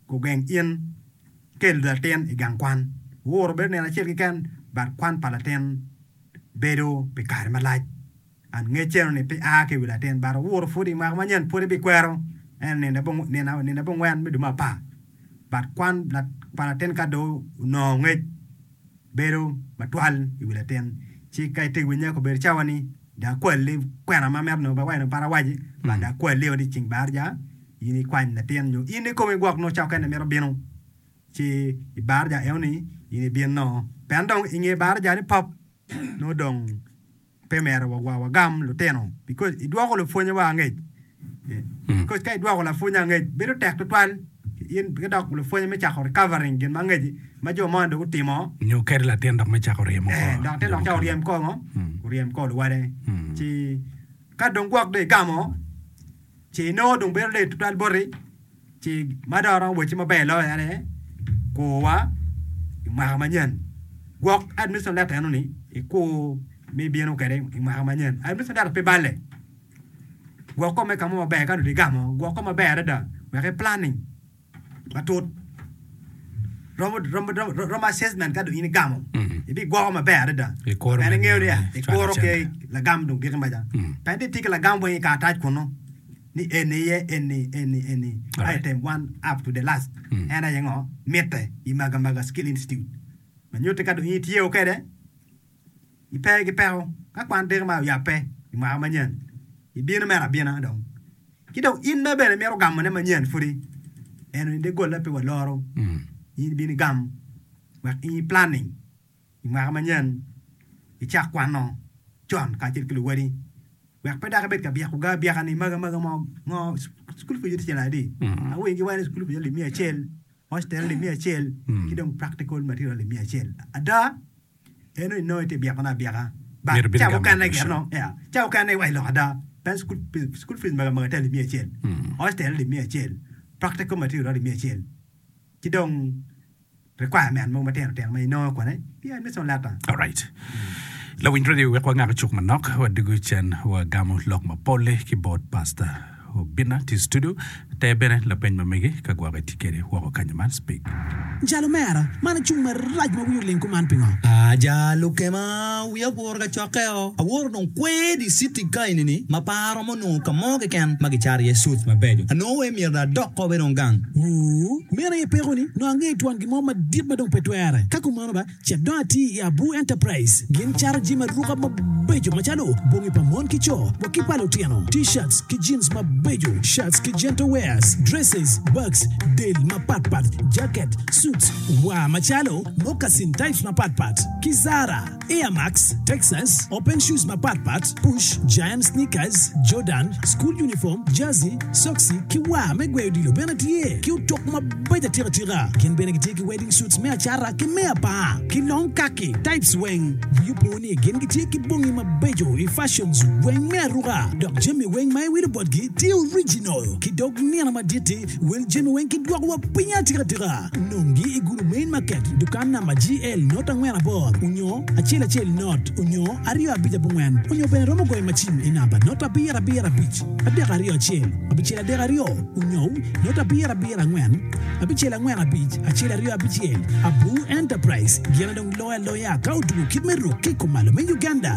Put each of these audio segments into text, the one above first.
gugeng in kelo latin i gang kwan. Wuro bedo nino acel keken but kwan pa latin bedo pi kare malac. And ngec eno ni pe a ki i wi latin but owuro pud i mwaka manyen pud ebikwero eno nino abongwen me dwe me apar but kwan pa latin ka dong onongo ngec bedo matwal i wi latin ci ka itye ka winye obedo cawa ni dong akwali kwena ma mito nongo bene pe awaci but dong akwali o dyeceng baraja in ikwany latin nyo in ikomi gwok nongo cawa mukene imito bino ci i baraja eno ni in ibino pien dong inge baraja ni pop nongo dong pe myero wagam lutino because idwoko lupwonye wa angec because ka idwoko lapwony angec bedo tek tutwal in ki dok lupwonye me cako recovering gin ma angec ma jo moni dong gutimo Nyo kadi latin dok me cako ryemo eh, kor dok latin jo dok cako mukene. ryem kor ngo oryem kor luwade ci ka dong gwok dong igamo ci inongo dong bedo lit tutwal boti Ci ma dong aromo wacci maber loyo en aye kurwa i mwaka manyen. Gwok admission letter eno-ni ikur ma ibino kwede i mwaka manyen. Admission letter pe balle. Gwok kome ka mo maber ka dong igamo, gwok kome maber adada wek i planning matut. Romo, romo, romo, romo assessment ka dong in igamo, ibigwoko maber adada. Ikuro Pien me ingeyo niang niya, ni cwalo ikuro ki cente. lagam dong giki maca. Pien itye ki lagam weng i karatac kunu. ni eni iye eni eni eni Alright. item one up to the last en aye ngo mitte i Magamaga Skill Institute ma nyutti ka dong in itye kede ipe ki peko ka kwan diki ma oyabbe i mwaka manyen ibino mere abina dong ki dong in ma bene imito gamone manyen pudi eno ni doggola pe waloro in ibino igam wek in i planning i mwaka manyen icak kwano con kacel ki luwadi wek pe dok ibed ka byeko ga abyeka ni magi magi mo ngo cukul pwonyo tye calo adi awinyo giwaco ni cukul pwonyo alip miya acel hostel alip miya acel ki dong practical material alip miya acel ada eno inongo itye byekone abyeka but Myero ibed ca gamo mukene admission. gire nongo ya ca mukene iwaco lok ada pien cukul cukul fees magi magi tye alip miya acel hostel alip miya acel practical material alip miya acel ci dong requirement mogo matino tino ma inongo kwene ki admission letter. Alright. Lawiny radio wek wangak cuk manok wadugu cen wagamo lok mapol-li ki bot Pastor Obinna tye i studio. Ter bene lapeny ma megi ka gwok itye kede woko kanyo man speak. Jal omera, man acung marac ma wiyi oling kuman pingo? Aa jal okema, wiya oguro kacokkeo. Awoto dong kwer i citi ka eni-ni ma pe aromo nongo ka mo keken ma gicato iye suits mabeco. Anongo wai myero dong adok kobe dong gang. Wuu, meno aye pekoni, nongo angeyo twon gin mo madit ma dong pe twere. Ka kumano ba, cit dong ati i Abu Enterprise. Gin cato jami aruka mabeco macalo bongi pa mon ki co wa ki pa lutino, T-shirts ki jeans mabeco, shirts ki gentle wears, dresses, bags, del mapat pat, jacket, suits, war macalo moccasin types mapat pat, ki Zara. Air Max, Texas, Open Shoes mapat pat, Push, Giant Sneakers, Jordan, School Uniform, Jersey, Soksi, ki war me gweyo odilo bene tye, ki otok mabeco atika tika. Gin bene gitye ki wedding suits me acata ki me apar, ki long kaki types weng. Wi opo ni gin gitye ki bongi mabeco i fashions weng me aruka, dok jami weng ma iwilo botgi tye original. Ki dog nino madit-ti, wel jami weng kidwoko wa piny atika tika. Nongi i Gulu Main Market, dukan namba GL not angwen abor onyo acel acel not onyo aryo abic abongwen onyo bene romo goyo macim i namba not abiro abiro abic adek aryo acel abicel adek aryo onyo not abiro abiro angwen abicel angwen abic acel aryo abicel. Abu Enterprise gin aye dong loyo aloya ka otugo kit me ruk ki i kumalo me Uganda.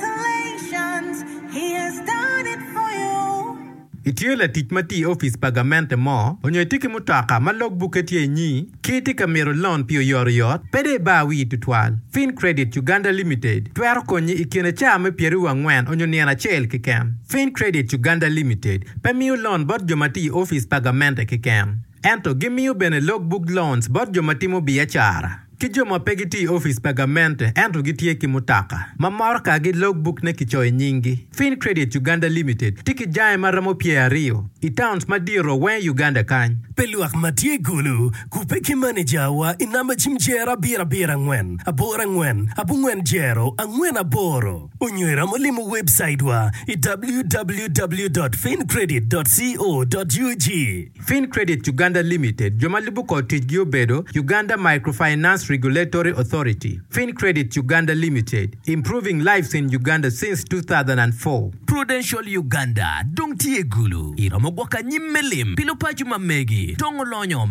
Congratulations, he has done it for you. Itye latic ma tiyo i opic pa gamente mo, onyo itye ki mutoka ma log bukke tye inyi, ki itye ka mito lon pi oyotoyot, pe dong ibar wii tutwal. Fincredit Uganda Limited twero konyi i kine caa me pyeraryo angwen onyo nino acel keken. Fincredit Uganda Limited pe miyo lon bot jo ma tiyo i opic pa gamente keken, ento gimiyo bene log book loans bot jo ma timo biacara. Ki jo ma pe gitiyo i opic pa gamente ento gitye ki mutoka ma motokagi logbukne kicoyo nyinggi. Fincredit Uganda Limited tye ki jange ma romo pyeraryo i towns madito weng i Uganda kany. Pi lwak ma tye i Gulu, kubbe ki manejawa i namba cim jero abiro abiro angwen aboro angwen abongwen jero angwen aboro onyo iromo limo webcaitwa i www dot fincredit dot co dot ug. Fincredit Uganda Limited, jo ma lubo kor ticgi obedo, Uganda Microfinance Regulatory Authority, Fincredit Uganda Limited, improving lives in Uganda since 2004. Prudential Uganda dong tye i Gulu. Iromo gwoko anyim me lim pi lupaco ma megi, dongo lonyo ma.